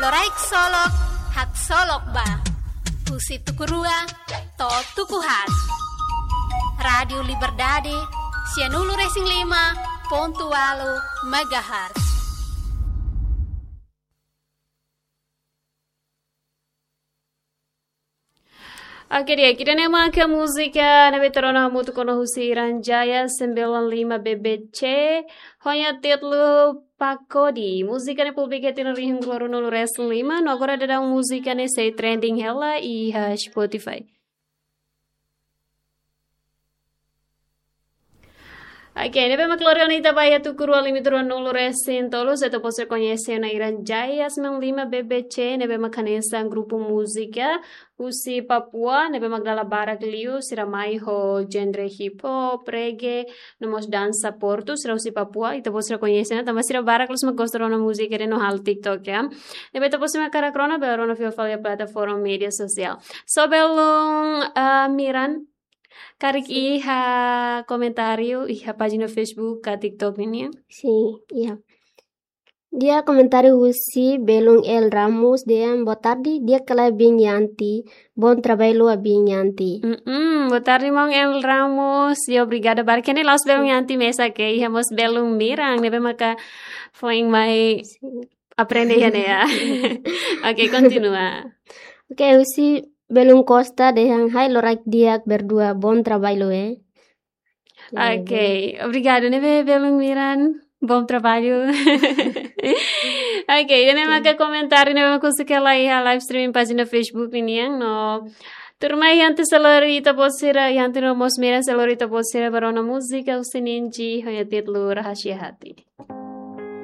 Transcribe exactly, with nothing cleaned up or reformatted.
Loraik solok, haksolok ba. Husi tuku rua to'o tuku haat. Rádiu Liberdade, sianulu-resin-lima pontu ualu megahertz. Oke, di'ak, ida-ne'e maka múzika ne'ebé tuur ona hamutuk ona husi Iran Jaya, Sembilan Lima B B C, ho nia títulu Pakodi. Múzika ne'e publika iha tinan rihun ruanulu-resin-lima, no agora daudaun múzika ne'e sei trending hela iha Spotify. Oke, ne'ebé mak lori ona ita ba iha tuku rua limite ruanulu-resin-tolu, ita-boot sira koñese ona Iran Jaya Sembilan Lima B B C, ne'ebé mak hanesan grupu múzika husi Papua, ne'ebé mak dala barak liu, sira mai ho genre hip hop, reggae, no mós dansa portu, sira husi Papua, ita-boot sira koñese ona, tanba sira barak loos mak gosta rona múzika ida-ne'e no halo TikTok, ya. Ne'ebé ita-boot sira mak hakarak rona, bele rona fila fali iha plataforma média sosiál. So belun, ah, Miran, karik iha komentáriu iha pájina Facebook ka TikTok nian? Sin, iha. Iha komentáriu husi belun El Ramos dehan, "Boa tarde, di'ak ka lae biin Yanti, bom trabalho ba biin Yanti." Mm-mm, boa tarde, maun El Ramos, i obrigada barak. Ida-ne'e la'ós belun Yanti mesak, iha mós belun Miran, ne'ebé maka foin mai aprende iha ne'e, ya. Oke, kontinua. Oke, husi belun Costa dehan, "Hai loraik di'ak berdua, bom trabalho, eh." Oke, obrigada, ne'ebé belun Miran, bom trabalho. Oke, ida-ne'e maka komentáriu ne'ebé mak husik hela iha live streaming pájina Facebook nian, no tuirmai Yanti sei lori ita-boot sira, Yanti no mós Miran sei lori ita-boot sira ba rona múzika husi Ninji, ho nia títulu Rahasia Hati.